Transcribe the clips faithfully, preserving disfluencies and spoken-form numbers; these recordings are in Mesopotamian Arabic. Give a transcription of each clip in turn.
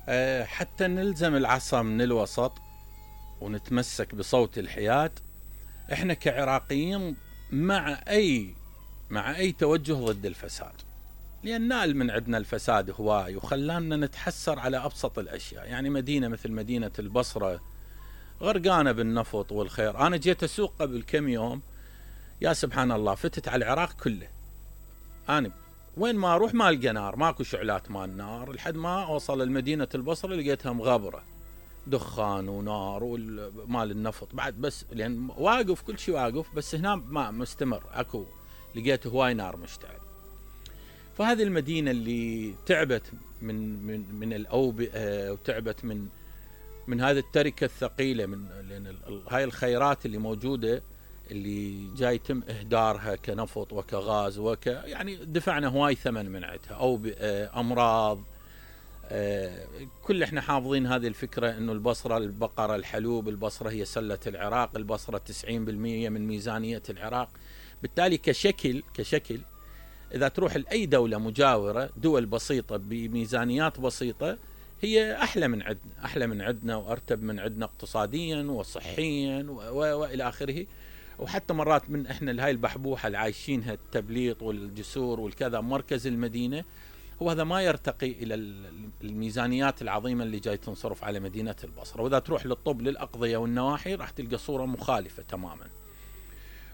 أه حتى نلزم العصا من الوسط ونتمسك بصوت الحياد. احنا كعراقيين مع اي مع اي توجه ضد الفساد، لان نال من عندنا الفساد هواي وخلانا نتحسر على ابسط الاشياء. يعني مدينة مثل مدينة البصرة غرقانة بالنفط والخير. انا جيت اسوق قبل كم يوم، يا سبحان الله، فتت على العراق كله. انا وين ما اروح ما القى نار، ماكو شعلات مال نار، لحد ما اوصل لمدينة البصرة لقيتها مغبرة، دخان ونار ومال النفط بعد، بس لان واقف كل شيء واقف، بس هنا ما مستمر، اكو لقيت هواي نار مشتعل. فهذه المدينة اللي تعبت من من من الاوبئة وتعبت من من هذه التركة الثقيلة، من لان هاي الخيرات اللي موجودة اللي جاي يتم اهدارها كنفط وكغاز وك يعني دفعنا هواي ثمن من عندها، اوبئة، امراض. آه كل احنا حافظين هذه الفكرة انه البصرة البقرة الحلوب، البصرة هي سلة العراق، البصرة تسعين بالمئة من ميزانية العراق. بالتالي كشكل كشكل اذا تروح لاي دولة مجاورة، دول بسيطة بميزانيات بسيطة، هي احلى من عندنا، احلى من عندنا وارتب من عندنا اقتصاديا وصحيا والى اخره. وحتى مرات من احنا لهاي البحبوحة اللي عايشينها، التبليط والجسور والكذا، مركز المدينة هو هذا ما يرتقي الى الميزانيات العظيمة اللي جاي تنصرف على مدينة البصرة. واذا تروح للطب للأقضية والنواحي راح تلقى صورة مخالفة تماما.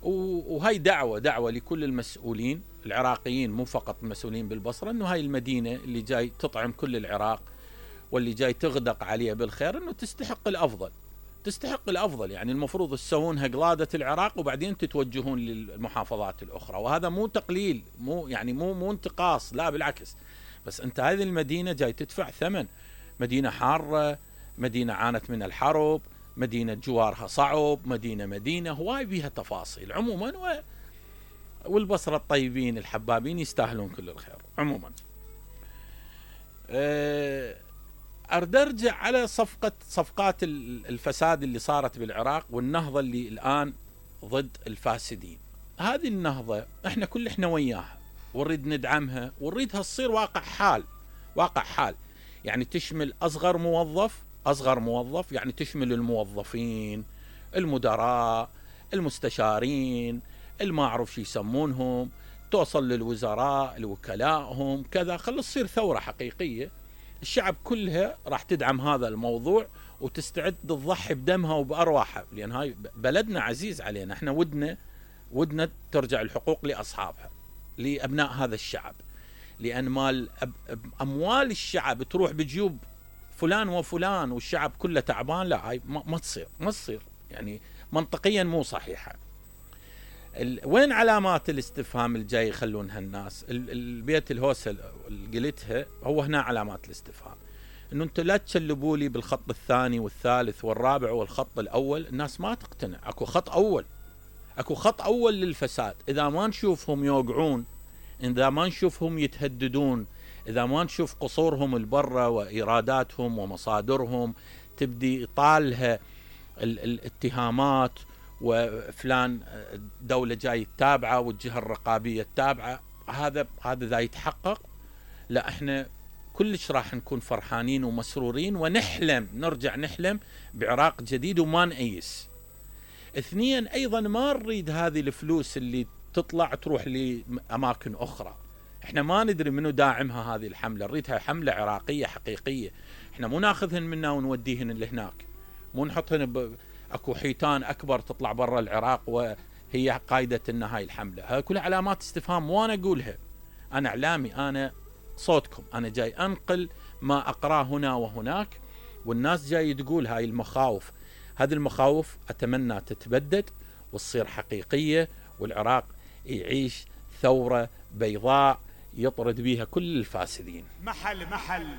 وهي دعوة دعوة لكل المسؤولين العراقيين، مو فقط المسؤولين بالبصرة، انه هاي المدينة اللي جاي تطعم كل العراق واللي جاي تغدق عليها بالخير، انه تستحق الافضل، تستحق الافضل. يعني المفروض تسوونها قلادة العراق وبعدين تتوجهون للمحافظات الاخرى. وهذا مو تقليل، مو يعني مو مو انتقاص، لا بالعكس. بس انت هذه المدينة جاي تدفع ثمن، مدينة حارة، مدينة عانت من الحرب، مدينة جوارها صعب، مدينة مدينة هواي بيها تفاصيل عموما. و... والبصرة الطيبين الحبابين يستاهلون كل الخير عموما. أه... أرد أرجع على صفقة صفقات الفساد اللي صارت بالعراق والنهضة اللي الآن ضد الفاسدين. هذه النهضة احنا كل احنا وياها ونريد ندعمها ونريدها تصير واقع حال، واقع حال. يعني تشمل أصغر موظف، أصغر موظف يعني تشمل الموظفين، المدراء، المستشارين، الما أعرف شو يسمونهم، توصل للوزراء، الوكلائهم كذا. خلص تصير ثورة حقيقية. الشعب كلها راح تدعم هذا الموضوع وتستعد تضحي بدمها وبأرواحها، لأن هاي بلدنا عزيز علينا. احنا ودنا ودنا ترجع الحقوق لأصحابها، لأبناء هذا الشعب. لأن مال أموال الشعب تروح بجيوب فلان وفلان والشعب كله تعبان، لا هاي ما تصير، ما تصير يعني منطقيا مو صحيحة. وين علامات الاستفهام اللي جاي يخلونها الناس؟ البيت الهوسة اللي قلتها هو هنا علامات الاستفهام، انه انتم لا تشلبوا لي بالخط الثاني والثالث والرابع والخط الاول. الناس ما تقتنع. اكو خط اول، اكو خط اول للفساد. اذا ما نشوفهم يوقعون، اذا ما نشوفهم يتهددون، اذا ما نشوف قصورهم البرة وايراداتهم ومصادرهم تبدي طالها الاتهامات، وفلان دولة جاي التابعة والجهة الرقابية التابعة، هذا هذا ذا يتحقق، لا احنا كلش راح نكون فرحانين ومسرورين ونحلم، نرجع نحلم بعراق جديد وما نأيس. اثنيا ايضا ما نريد هذه الفلوس اللي تطلع تروح لأماكن اخرى. احنا ما ندري منو داعمها هذه الحملة، نريدها حملة عراقية حقيقية. احنا مو ناخذهن منا ونوديهن لهناك، مو نحطهن ب... اكو حيتان اكبر تطلع برا العراق وهي قايدة ان هاي الحملة. هاي كلها علامات استفهام وانا اقولها. انا اعلامي، انا صوتكم، انا جاي انقل ما اقراه هنا وهناك، والناس جاي تقول هاي المخاوف. هذه المخاوف اتمنى تتبدد وتصير حقيقية، والعراق يعيش ثورة بيضاء يطرد بيها كل الفاسدين. محل محل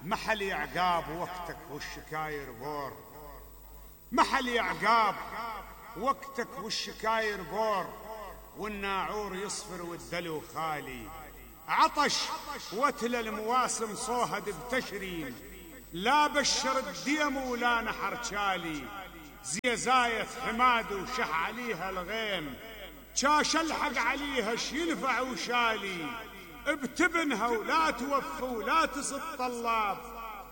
محل يا عقاب وقتك والشكاير بور، محل يا عقاب وقتك والشكاير بور، والناعور يصفر والدلو خالي، عطش وتل المواسم صوهد بتشرين، لا بشر الديم ولا نحر شالي، زيزاية حماد وشح عليها الغيم، شاش الحق عليها شينفع وشالي، ابتبنها ولا توفى ولا تصد طلاب،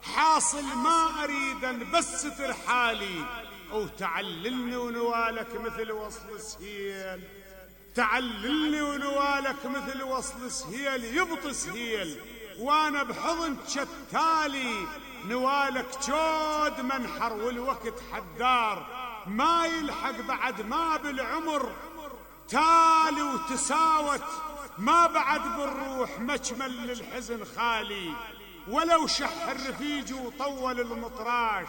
حاصل ما أريد بس ترحالي، وتعللني ونوالك مثل وصل سهيل، تعللني ونوالك مثل وصل سهيل، يبطي سهيل وانا بحضن شتالي، نوالك جود منحر والوقت حدار، ما يلحق بعد ما بالعمر تالي وتساوت، ما بعد بالروح مجمل للحزن خالي، ولو شح الرفيج وطول المطراش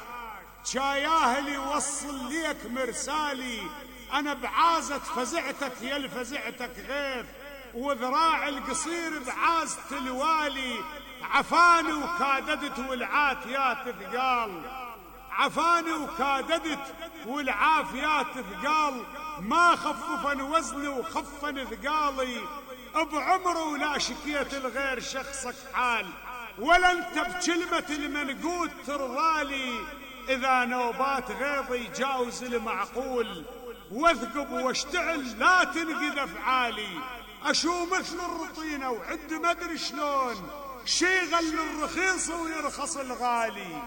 شاياه اللي يوصل ليك مرسالي، انا بعازة فزعتك يا الفزعتك غيث، وذراع القصير بعازة الوالي، عفاني وكاددت والعافيات ثقال، عفاني وكاددت والعافيات ثقال، ما خففن وزني وخفن ثقالي، بعمري ولا شكيت الغير شخصك حال، ولا انت بكلمة المنقود ترضالي، اذا نوبات غيظي جاوز المعقول، واثقب واشتعل لا تنقذ افعالي، اشو مثل الرطينة وعد ما ادري شلون شيغل الرخيص ويرخص الغالي،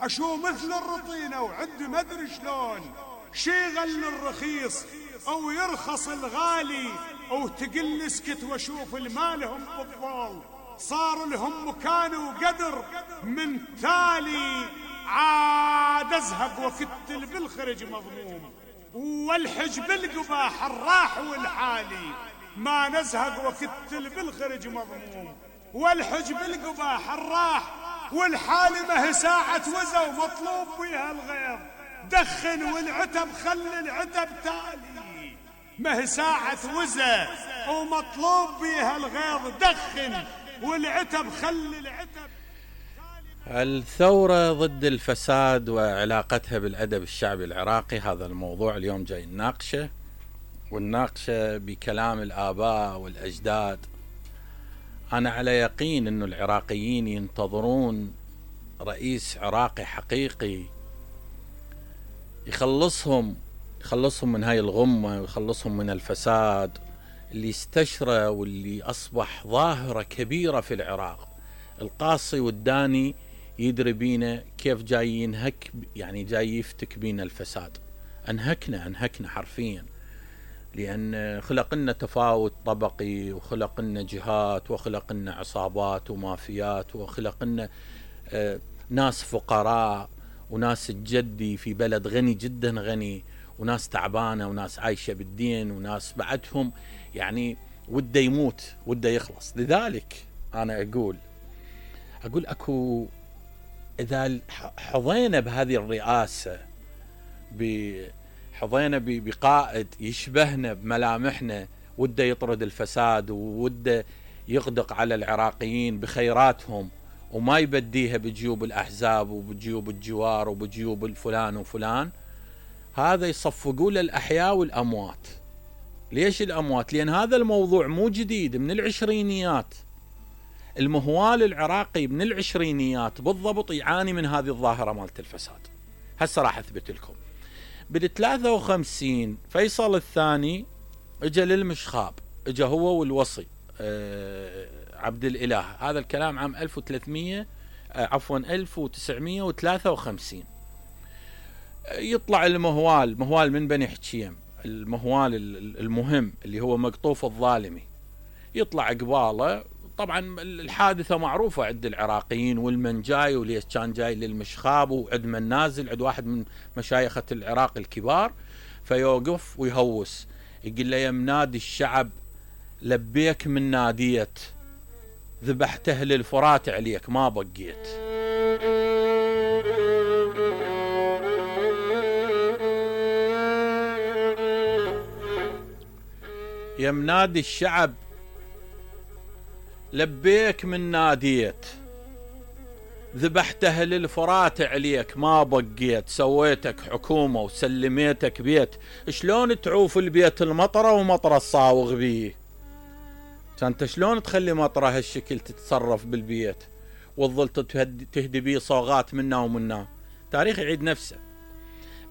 اشو مثل الرطينة وعد ما ادري شلون شيغل الرخيص او يرخص الغالي، وتقل اسكت واشوف المالهم بالضال، صار لهم مكان وقدر من تالي، عاد ازهق وكتل بالخرج مضموم، والحج بالقباح الراح والحالي، ما نزهق وكتل بالخرج مضموم، والحج بالقباح الراح والحالي، ما هي ساعة وزا ومطلوب بيها الغيظ، دخن والعتب خلي العتب تالي، ما هي ساعة وزا ومطلوب بيها الغيظ، دخن والعتب خلي العتب. الثورة ضد الفساد وعلاقتها بالأدب الشعبي العراقي، هذا الموضوع اليوم جاي نناقشه، ونناقشه بكلام الآباء والأجداد. أنا على يقين أن العراقيين ينتظرون رئيس عراقي حقيقي يخلصهم يخلصهم من هاي الغمة ويخلصهم من الفساد اللي استشرى واللي أصبح ظاهرة كبيرة في العراق. القاصي والداني يدري بينا كيف جاي ينهك، يعني جاي يفتك بينا الفساد. أنهكنا أنهكنا حرفيا، لأن خلق لنا تفاوت طبقي، وخلق لنا جهات، وخلق لنا عصابات ومافيات، وخلق لنا آه ناس فقراء وناس الجدي في بلد غني جدا غني، وناس تعبانة وناس عايشة بالدين، وناس بعدهم يعني وده يموت وده يخلص. لذلك أنا أقول أقول أكو إذا حظينا بهذه الرئاسة، حظينا بقائد يشبهنا بملامحنا، وده يطرد الفساد ووده يغدق على العراقيين بخيراتهم، وما يبديها بجيوب الأحزاب وبجيوب الجوار وبجيوب الفلان وفلان، هذا يصفقوا له الأحياء والأموات. ليش الأموات؟ لأن هذا الموضوع مو جديد، من العشرينيات. المهوال العراقي من العشرينيات بالضبط يعاني من هذه الظاهرة مالت الفساد. هسه راح أثبت لكم. بالثلاثة وخمسين فيصل الثاني اجى للمشخاب، اجى هو والوصي أه عبد الإله، هذا الكلام عام ألف وثلاثمية أه عفوا ألف وتسعمية وثلاثة وخمسين. يطلع المهوال، مهوال من بني حكيم، المهوال المهم اللي هو مقطوف الظالمي، يطلع قباله. طبعا الحادثة معروفة عند العراقيين، والمن جاي وليش كان جاي للمشخاب، وعند من نازل عند واحد من مشايخة العراق الكبار، فيوقف ويهوس يقول له: يا منادي الشعب لبيك من ناديت، ذبحت أهل الفرات عليك ما بقيت. يا منادي الشعب لبيك من ناديت، ذبحت أهل الفرات عليك ما بقيت، سويتك حكومة وسلميتك بيت، شلون تعوف البيت المطرة ومطرة الصاوغ بيه؟ انت شلون تخلي مطرة هالشكل تتصرف بالبيت وتظل تهدي بيه صوغات منا ومنا؟ تاريخ يعيد نفسه.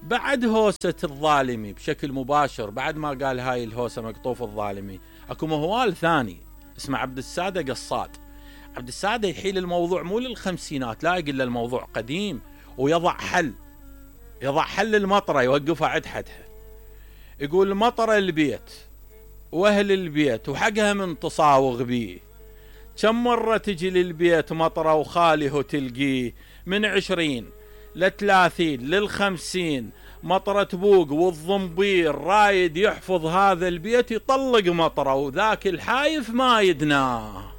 بعد هوسة الظالمي بشكل مباشر، بعد ما قال هاي الهوسة مقطوف الظالمي، اكو مهوال ثاني اسمه عبد السادة قصاد. عبد السادة يحيل الموضوع مو للخمسينات، لا، يقول له الموضوع قديم، ويضع حل، يضع حل المطرة يوقفها عند حدها. يقول مطرة البيت واهل البيت وحقها من تصاوغ بيه، كم مرة تجي للبيت مطرة وخاله تلقيه، من عشرين لثلاثين للخمسين مطرة تبوق، والضمبير رايد يحفظ هذا البيت يطلق مطرة، وذاك الحايف ما يدناه.